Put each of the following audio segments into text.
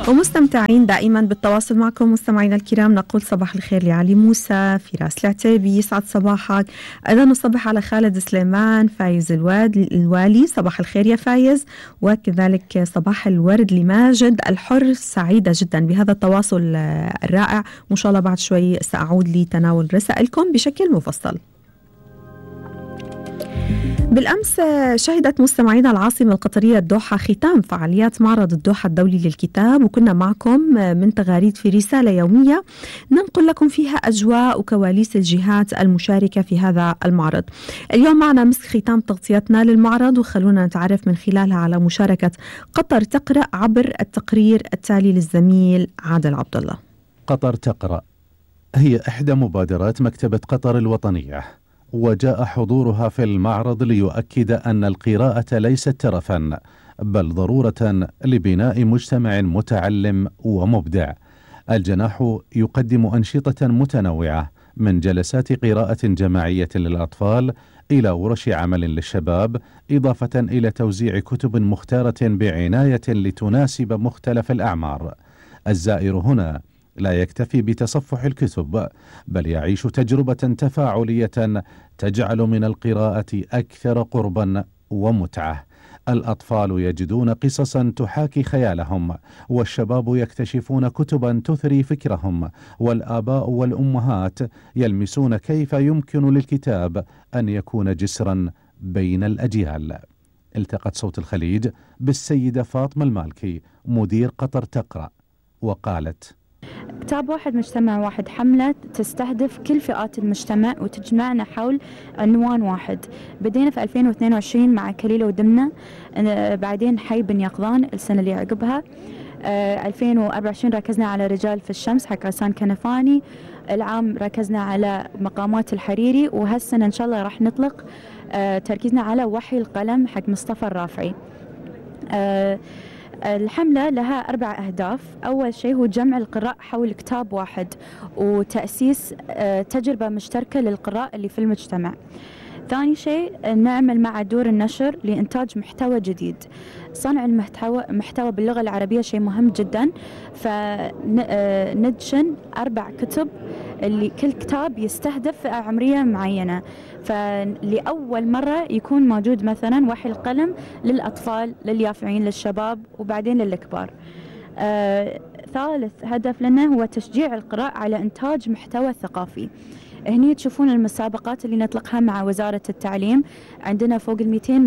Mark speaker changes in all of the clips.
Speaker 1: ومستمتعين دائما بالتواصل معكم مستمعينا الكرام. نقول صباح الخير لعلي موسى، فراس العتيبي، يسعد صباحك. أيضا نصبح على خالد سليمان، فايز الوالي، صباح الخير يا فايز. وكذلك صباح الورد لماجد الحر. سعيدة جدا بهذا التواصل الرائع، وإن شاء الله بعد شوي سأعود لتناول رسائلكم بشكل مفصل. بالأمس شهدت مستمعينا العاصمة القطرية الدوحة ختام فعاليات معرض الدوحة الدولي للكتاب، وكنا معكم من تغاريد في رسالة يومية ننقل لكم فيها أجواء وكواليس الجهات المشاركة في هذا المعرض. اليوم معنا مسك ختام تغطيتنا للمعرض، وخلونا نتعرف من خلالها على مشاركة قطر تقرأ عبر التقرير التالي للزميل عادل عبد الله.
Speaker 2: قطر تقرأ هي إحدى مبادرات مكتبة قطر الوطنية، وجاء حضورها في المعرض ليؤكد أن القراءة ليست ترفا بل ضرورة لبناء مجتمع متعلم ومبدع. الجناح يقدم أنشطة متنوعة من جلسات قراءة جماعية للأطفال إلى ورش عمل للشباب، إضافة إلى توزيع كتب مختارة بعناية لتناسب مختلف الأعمار. الزائر هنا لا يكتفي بتصفح الكتب بل يعيش تجربة تفاعلية تجعل من القراءة أكثر قربا ومتعة. الأطفال يجدون قصصا تحاكي خيالهم، والشباب يكتشفون كتبا تثري فكرهم، والآباء والأمهات يلمسون كيف يمكن للكتاب أن يكون جسرا بين الأجيال. التقت صوت الخليج بالسيدة فاطمة المالكي مدير قطر تقرأ وقالت:
Speaker 3: كتاب واحد مجتمع واحد، حملة تستهدف كل فئات المجتمع وتجمعنا حول عنوان واحد. بدينا في 2022 مع كليلة ودمنة، بعدين حي بن يقظان السنة اللي عقبها. 2024 ركزنا على رجال في الشمس حق غسان كنفاني. العام ركزنا على مقامات الحريري، وهالسنة إن شاء الله راح نطلق تركيزنا على وحي القلم حق مصطفى الرافعي. الحملة لها 4 أهداف. أول شيء هو جمع القراء حول كتاب واحد وتأسيس تجربة مشتركة للقراء اللي في المجتمع. ثاني شيء نعمل مع دور النشر لإنتاج محتوى جديد. صنع المحتوى باللغة العربية شيء مهم جدا، فندشن 4 كتب اللي كل كتاب يستهدف فئة عمرية معينة. فلأول مرة يكون موجود مثلا وحي القلم للأطفال، لليافعين، للشباب، وبعدين للكبار. ثالث هدف لنا هو تشجيع القراء على إنتاج محتوى ثقافي. هني تشوفون المسابقات اللي نطلقها مع وزارة التعليم. عندنا فوق 200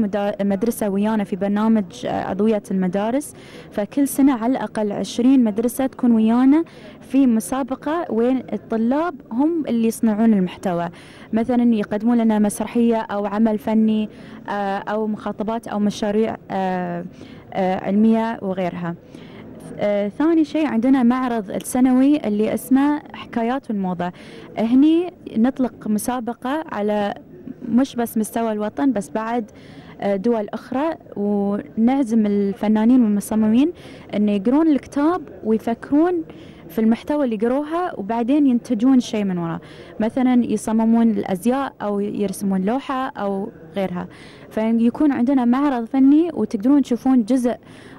Speaker 3: مدرسة ويانا في برنامج أضوية المدارس، فكل سنة على الأقل 20 مدرسة تكون ويانا في مسابقة وين الطلاب هم اللي يصنعون المحتوى، مثلا يقدمون لنا مسرحية أو عمل فني أو مخاطبات أو مشاريع علمية وغيرها. ثاني شيء عندنا معرض السنوي اللي اسمه حكايات والموضة. هني نطلق مسابقة على مش بس مستوى الوطن بس بعد دول أخرى، ونعزم الفنانين والمصممين أن يقرون الكتاب ويفكرون في المحتوى اللي قروها وبعدين ينتجون شيء من وراء، مثلا يصممون الأزياء أو يرسمون لوحة أو غيرها. فيكون عندنا معرض فني وتقدرون تشوفون جزء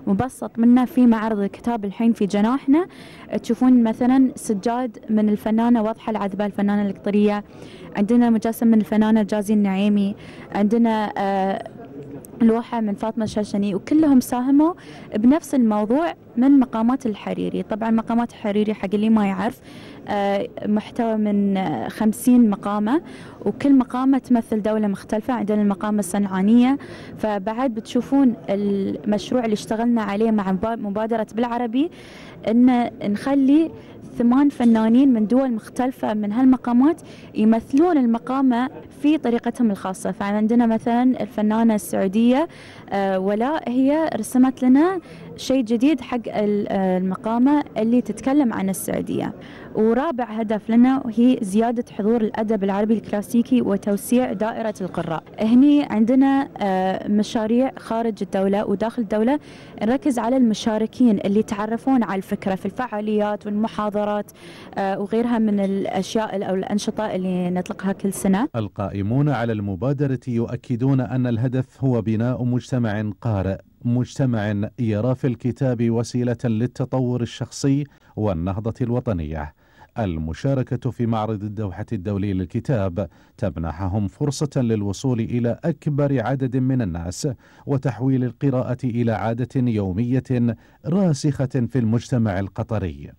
Speaker 3: مبسط منه في معرض الكتاب الحين في جناحنا. تشوفون مثلا سجاد من الفنانة وضحة العذبة الفنانة القطرية، عندنا مجسم من الفنانة جازي النعيمي، عندنا لوحة من فاطمة الشاشني، وكلهم ساهموا بنفس الموضوع من مقامات الحريري. طبعا مقامات الحريري حق اللي ما يعرف محتوى من 50 مقامة، وكل مقامة تمثل دولة مختلفة. عندنا المقامة الصنعانية، فبعد بتشوفون المشروع اللي اشتغلنا عليه مع مبادرة بالعربي ان نخلي 8 فنانين من دول مختلفة من هالمقامات يمثلون المقامة في طريقتهم الخاصة. فعندنا مثلا الفنانة السعودية ولاء، هي رسمت لنا شيء جديد حق المقامة اللي تتكلم عن السعودية. ورابع هدف لنا هي زيادة حضور الأدب العربي الكلاسيكي وتوسيع دائرة القراء. هني عندنا مشاريع خارج الدولة وداخل الدولة، نركز على المشاركين اللي يتعرفون على الفكرة في الفعاليات والمحاضرات وغيرها من الأشياء أو الأنشطة اللي نطلقها كل سنة.
Speaker 2: القائمون على المبادرة يؤكدون أن الهدف هو بناء مجتمع قارئ مجتمع يرى في الكتاب وسيلة للتطور الشخصي والنهضة الوطنية. المشاركة في معرض الدوحة الدولي للكتاب تمنحهم فرصة للوصول إلى أكبر عدد من الناس وتحويل القراءة إلى عادة يومية راسخة في المجتمع القطري.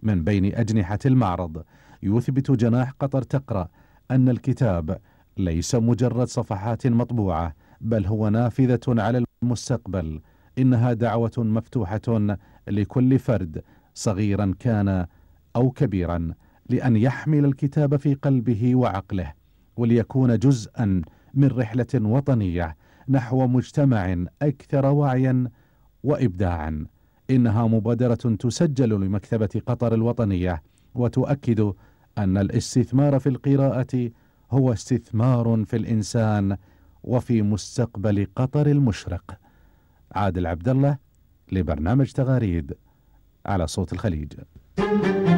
Speaker 2: من بين أجنحة المعرض يثبت جناح قطر تقرأ أن الكتاب ليس مجرد صفحات مطبوعة، بل هو نافذة على المستقبل. إنها دعوة مفتوحة لكل فرد صغيرا كان أو كبيرا لأن يحمل الكتاب في قلبه وعقله، وليكون جزءا من رحلة وطنية نحو مجتمع أكثر وعيا وإبداعا. إنها مبادرة تسجل لمكتبة قطر الوطنية، وتؤكد أن الاستثمار في القراءة هو استثمار في الإنسان وفي مستقبل قطر المشرق. عادل عبد الله لبرنامج تغاريد على صوت الخليج.